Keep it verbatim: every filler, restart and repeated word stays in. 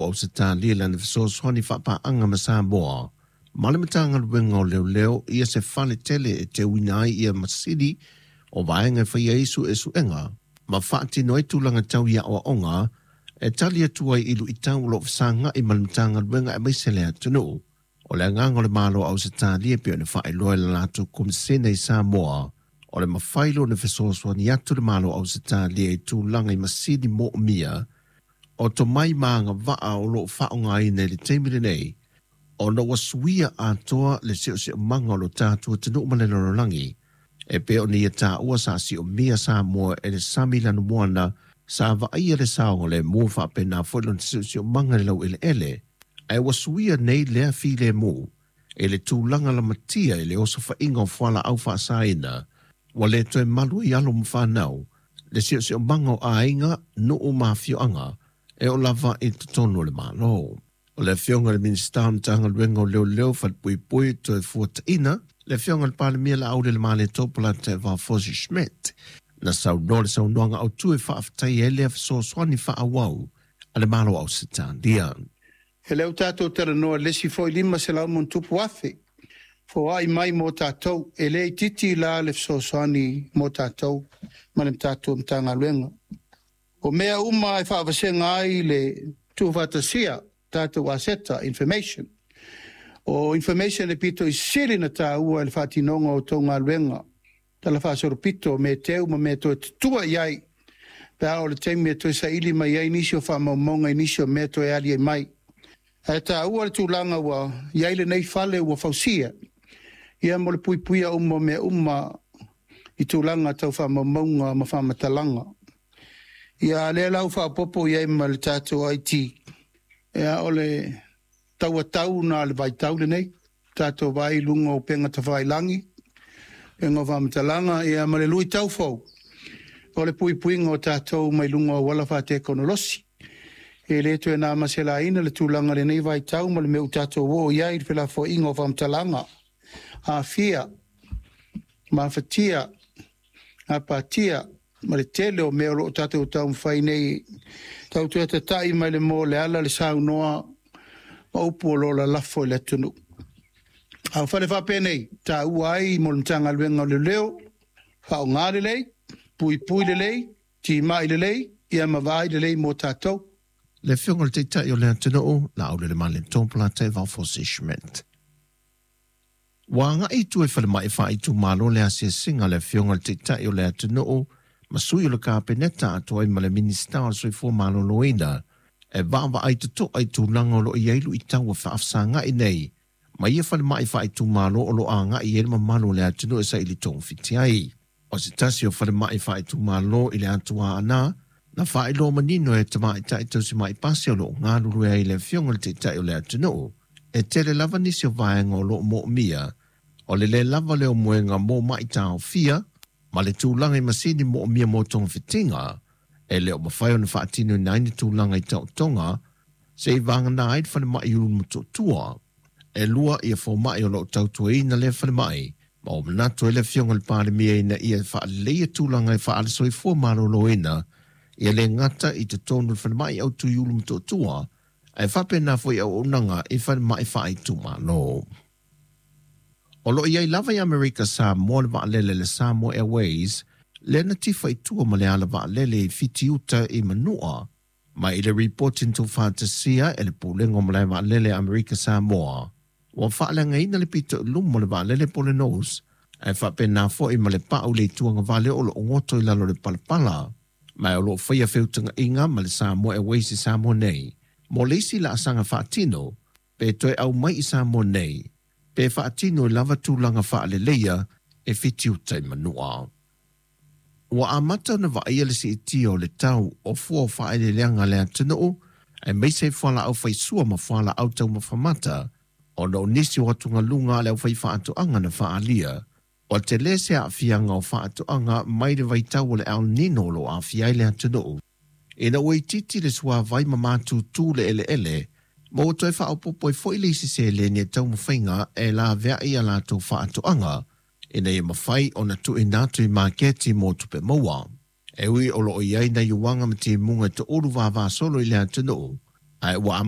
Ausetalia lana fesoasoani faapaaga ma Samoa ma le Matagaluega o Leoleo ia se fale tele e teuina ai ia masini o vaega e faia ai suesuega ma faatino ai tulaga tau i aoaoga e tali atu ai i luitau o loo fesaga'i ma le Matagaluega aemaise le atunuu. O le agaga o le Malo o Ausetalia pei ona faailoa i le latou Komisena i Samoa, o le mafai lona fesoasoani atu le Malo o Ausetalia i tulaga i masini moomia o tomai ma agavaa o loo faaaogaina i le taimi lenei, ona ua suia atoa le siosiomaga o lo tatou atunuu ma le lalolagi e pei ona ia taua sa siomia Samoa e le sami lanumoana sa vaaia le saogalemu faapena foi lona siosiomaga i le laueleele, ae ua suia nei lea filemu i le tulaga lamatia i le osofaiga o fualaau faasaina ua le toe malu ai alo ma fanau le siosiomaga o aiga, nuu ma afioaga e oo lava i totonu o le Malo. O le Afioga i le Minisita o Matagaluega o Leoleo, Falepuipui Toefuataiga, le Afioga i le Palemia Laaulialemalietoa Polataivao Fosi Schmidt, na saunoa le saunoaga autu e faafetaia ai lea fesoasoani faaauau a le Malo o Ausetalia. E lea ua tatou talanoa i le isi foi lima selau ma ona tupu afe foai mai mo tatou. E le itiiti la le fesoasoani mo tatou ma le tatou Matagaluega. O mea uma e faavasega ai le tuufaatasia tatou aseta, information. O information e pito i sili na taua i le faatinoga o tou galuega, tala faasolopito, me teu ma mea toe tutua i ai, pe a o le taimi e toe saili mai ai nisi o faamaumauga i nisi o mea toe ali ai mai. Ae taua le tulaga ua i ai lenei fale ua fausia, ia mo le puipuia uma o mea uma i tulaga tau faamaumauga ma faamatalaga. Ia lea la ua faaopoopo i ai ma le tatou I T, ia o le tauatau na le vaitau lenei, tatou vai i luga o upega tafailagi, upega o faamatalaga, ia ma le luitau fou o le puipuiga o tatou mai luga o auala faatekonolosi. E le toe na maselaina le tulaga lenei vaitau ma le mea ua tatou oo i ai i le felafoaiga o faamatalaga, aafia, mafatia, gapatia, ma le tele o mea o loo tatou taumafai nei tau toe tatai mai le mo le ala le saunoa ma upu o lo o lalafo i le atunuu. A o fale faapenei taua ai mo le Matagaluega o Leoleo, faaaoga lelei, puipui lelei, timai lelei, ia ma vaai lelei mo tatou. Le Afioga i le Taitai o le atunuu, Laaulialemalietoa Polataivao Fosi Schmidt. Ua agai i tua i falemai faaitumalo le asiasiga a le Afioga i le Taitai o le atunuu ma sui o le Kapeneta atoa ai ma le Minisita o le Soifua Maloloina e vaavaai totoa i tulaga o loo i ai luitau ua faafesagai nei ma ia falemai faaitumalo o loo agai ai le mamalu o le atunuu e saili togafiti ai. O se tasi o falemai faaitumalo i le atua Aana na faailoa manino e tamaitai tausimai pasi o loo galulue ai le Afioga i le Taitai o le atunuu e tele lava nisi o vaega o loo moomia o le lē lava lea o moega mo maitaofia ma le tulaga i masini moomia mo togafitiga e le o mafai ona faatinoina ai ni tulaga i taotoga se'i vagana ai le falemai i Ulumotootua. E lua ia fomai o loo tautuaina lea falemai ma ua manatu ai le Afioga i le Palemia ina ia faaleleia tulaga e faale-soifua maloloina ia le gata i totonu o le falemai autu i Ulumotootua ae faapena foi auaunaga i falemai faaitumalo. O loo i ai lava i Amerika Samoa le vaalele le Samoa Airways lea na tifa i tua ma le ala vaalele i Fitiuta i Manua ma i le ripoti na tuufaatasia e le Pulega o Malae Vaalele a Amerika Samoa ua faaleagaina le pito i luma o le vaalele po o le nose ae faapena foi ma le pau i le ituagavale o loo goto i lalo o le palapala ma o loo faia feutagaiga ma le Samoa Airways i Samoa nei mo le isi laasaga faatino pe toe aumai i Samoa nei pe faatino i lava tulaga faaleleia e Fitiuta i Manua. Ua amata ona vaaia le siitia o le tau o fua o faaeleeleaga a le atunuu aemaise ai fualaau faisua ma fualaau taumafa mata ona o nisi o atugaluga a le aufaifaatoaga na faaalia. Ua tele se aafiaga o faatoaga mai le vaitau o le El Nino o loo aafia ai le atunuu. Ina ua itiiti le suavai ma matutu le eleele, ma ua toe faaopoopo ai foi le isi seleni e taumafaiga e laveai a latou faatoaga ina ia mafai ona tuuina atu i maketi mo tupe maua. E ui o loo i ai nai uaga ma timuga e toulu vavasolo i le atunuu, Ae ua